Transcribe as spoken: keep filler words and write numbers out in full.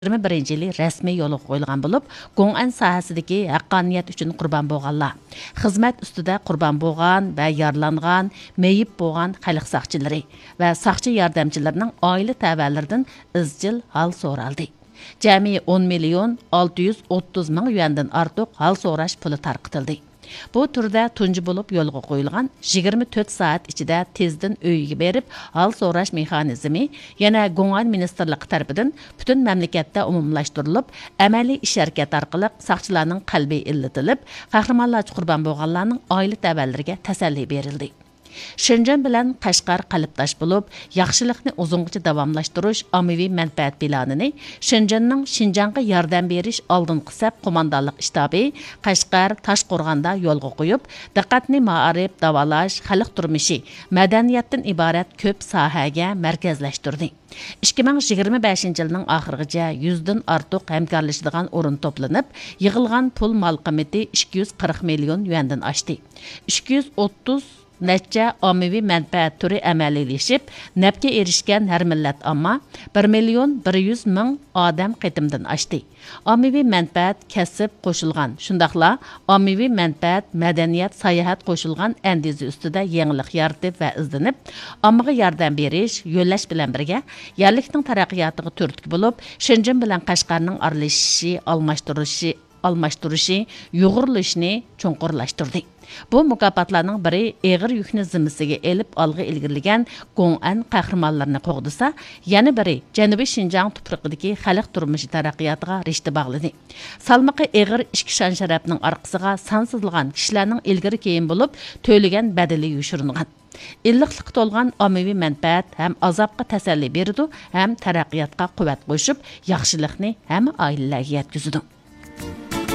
يىگىرمە بىرىنچى يىلى رەسمىي يولغا قويۇلغان بولۇپ، گوڭئەن ساھەسىدىكى ھەققانىيەت ئۈچۈن قۇربان بولغانلار، خىزمەت ئۈستىدە قۇربان بولغان ۋە يارىلانغان، مېيىپ بولغان خەلق ساقچىلىرى ۋە ساقچى ياردەمچىلىرىنىڭ ئائىلە تەۋەلىرىدىن ئىزچىل ھال سورالدى. جەمئىي ئون مىليون ئالتە يۈز ئوتتۇز مىڭ يۈەندىن ئارتۇق ھال سوراش پۇلى تارقىتىلدى. بۇ تۈردە تۇنجى بولۇپ يولغا قويۇلغان يىگىرمە تۆت سائەت ئىچىدە تېزدىن ئۆيىگە بېرىپ ھال سوراش مېخانىزمى يەنە گوڭئەن مىنىستىرلىقى تەرىپىدىن پۈتۈن مەملىكەتتە ئومۇملاشتۇرۇلۇپ، ئەمەلىي ئىش ھەرىكەت ئارقىلىق ساقچىلارنىڭ قەلبى ئىللىتىلىپ، قەھرىمانلارچە قۇربان بولغانلارنىڭ ئائىلە تەۋەلىرىگە تەسەللى بېرىلدى. شېنجېن بىلەن قەشقەر قەلبداش بولۇپ، ياخشىلىقنى ئۇزۇنغىچە داۋاملاشتۇرۇش ئاممىۋى مەنپەئەت پىلانىنى شېنجېننىڭ شىنجاڭغا ياردەم بېرىش ئالدىنقى سەپ قوماندانلىق شتابى، قەشقەر، تاشقورغاندا يولغا قويۇپ، دىققەتنى مائارىپ، داۋالاش، خەلق تۇرمۇشى، مەدەنىيەتتىن ئىبارەت كۆپ ساھەگە مەركەزلەشتۈردى. ئىككى مىڭ يىگىرمە بەشىنچى يىلنىڭ ئاخىرىغىچە يۈزدىن ئارتۇق ھەمكارلىشىدىغان ئورۇن توپلىنىپ، يىغىلغان پۇل مال قىممىتى ئىككى يۈز قىرىق مىليون يۈەندىن ئاشتى. ئىككى يۈز ئوتتۇز نەچچە ئاممىۋى مەنپەئەت تۈرى ئەمەلىيلىشىپ، نەپكە ئېرىشكەن ھەر مىللەت ئامما بىر مىليون بىر يۈز مىڭ ئادەم قېتىمدىن ئاشتى. ئاممىۋى مەنپەئەت، كەسىپ قوشۇلغان، شۇنداقلا ئاممىۋى مەنپەئەت، مەدەنىيەت، ساياھەت قوشۇلغان ئەندىزە ئۈستىدە يېڭىلىق يارىتىپ ۋە ئىزدىنىپ، ئاممىغا ياردەم بېرىش، يۆلەش بىلەن بىرگە، يەرلىكنىڭ تەرەققىياتىغا تۈرتكە بولۇپ، شېنجېن بىلەن قەشقەرنىڭ ئارىلىشىشى، ئالماشتۇرۇشى، ئالماشتۇرۇشى، يۇغۇرۇلۇشىنى چوڭقۇرلاشتۇردى. بۇ مۇكاپاتلارنىڭ بىرى ئېغىر يۈكنى زىممىسىگە ئېلىپ ئالغا ئىلگىرىلىگەن گوڭئەن قەھرىمانلىرىنى قوغدىسا، يەنە بىرى جەنۇبىي شىنجاڭ تۇپرىقىدىكى خەلق تۇرمۇشى تەرەققىياتىغا رىشتە باغلىدى. سالمىقى ئېغىر ئىككى شان-شەرەپنىڭ ئارقىسىغا سانسىزلىغان كىشىلەرنىڭ ئىلگىرى-كېيىن بولۇپ تۆلىگەن بەدىلى يوشۇرۇنغان. ئىللىقلىققا تولغان ئاممىۋى مەنپەئەت ھەم ئازابقا تەسەللى بېرىدۇ، ھەم تەرەققىياتقا قۇۋۋەت قوشۇپ، ياخشىلىقنى ھەممە ئائىلىلەرگە يەتكۈزىدۇ.